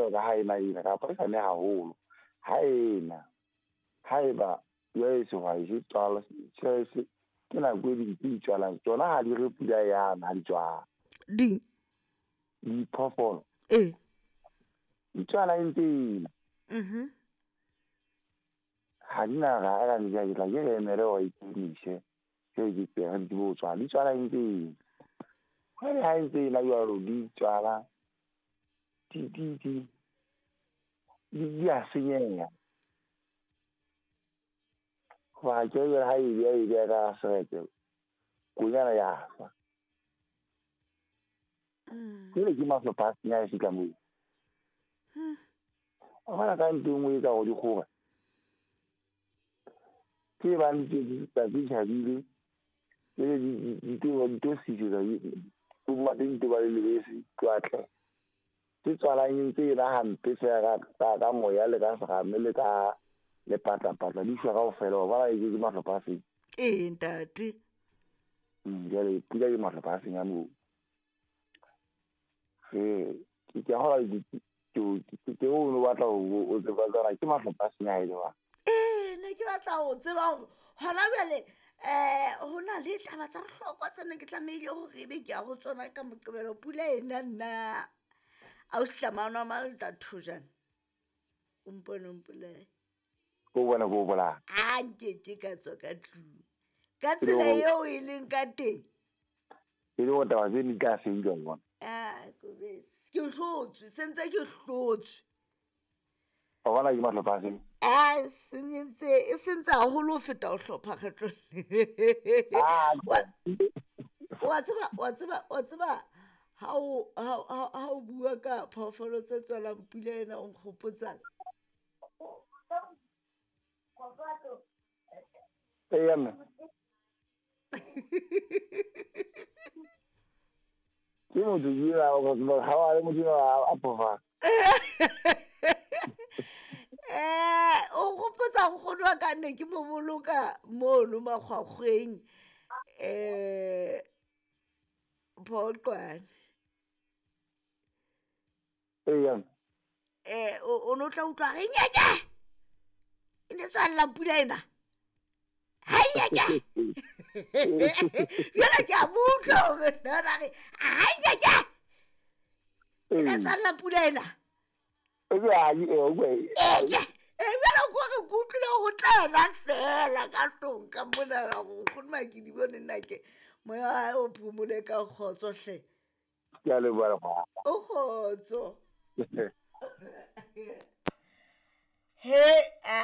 jwalo ka ha ena ena kapa e sa ne haholo. Ha ena haeba jwale sehwai se tswala se ke nako e di tswalang tsona ha di re pula yana ha di tswala. Ding? Diphoofolo. Ee. Di tswala e ntse ena. Mhm. Ha di na ra ra di tla ke re emele hore e tiise. Ke ke tsere di bo tswala, di tswala e ntse ena. Jwale ha e ntse ena jwalo di tswala di a senyeha. Hoba ke re ha e beha ka seretse konyana ya shwa. Jwale ke mahlopha a senya e fihla moo. Wa bona ka ntho e nngwe e etsa hore di kgore. Ke bang tsatsi tjhabile, jwale di tlo sisetsa di di ba le lebese tlo. Tse tswalang e ntse e ba hampe feela ka moya le ka serame le ka lepatlapatla di shwa kaofela. Wa bona ke mahlopha a seng. Ee ntate. Jwale pula ke mahlopha a seng a moo. Ke a kgolwa ke o no batla ho tseba tsona ke mahlopha a seng a e le jwang. Ee, ne ke batla ho tseba hore hona jwale ho na le taba tsa bohlokwa tse ne ke tlamehile hore ebe ke ya ho tsona ka Moqebelo. Pula ena nna ausi Tlamano wa Malta Thojane. O mpone o mpolaye. O bona ko bolaya. A nkeke ka tswa ka tlung. Ka tsela eo e leng ka teng. E le hore taba tse di tla fedile wa bona. Ah, Kobetsi. Ke hlotswe, se ntse ke hlotswe. Wa bona ke mahlopha a seng? A senyentse, e sentse haholo ho feta ho hlopha kgetlong. Wa tseba ha o bua ka phoofolo tse tswalang pula ena o nkgopotsang. Eya mme. Ke motho ke ha wa le motho a phofa. O nkgopotsa nkgono wa ka ne ke mo boloka mono makgwakgweng Phoqwane. Eya. O no tla utlwa re nyeke. E ne tswallang pula ena. Ha nyeke. Jwale ke a mo utlwa hore nna re ha nyeke. E ne tswallang pula ena. Eke. Jwale ko re ke utlwile ho tla ena fela ka tlong ka mona hore nkgono Makedi bone nna ke moya wa hae o phomole ka kgotso hle. Ke a leboha. O kgotso. He a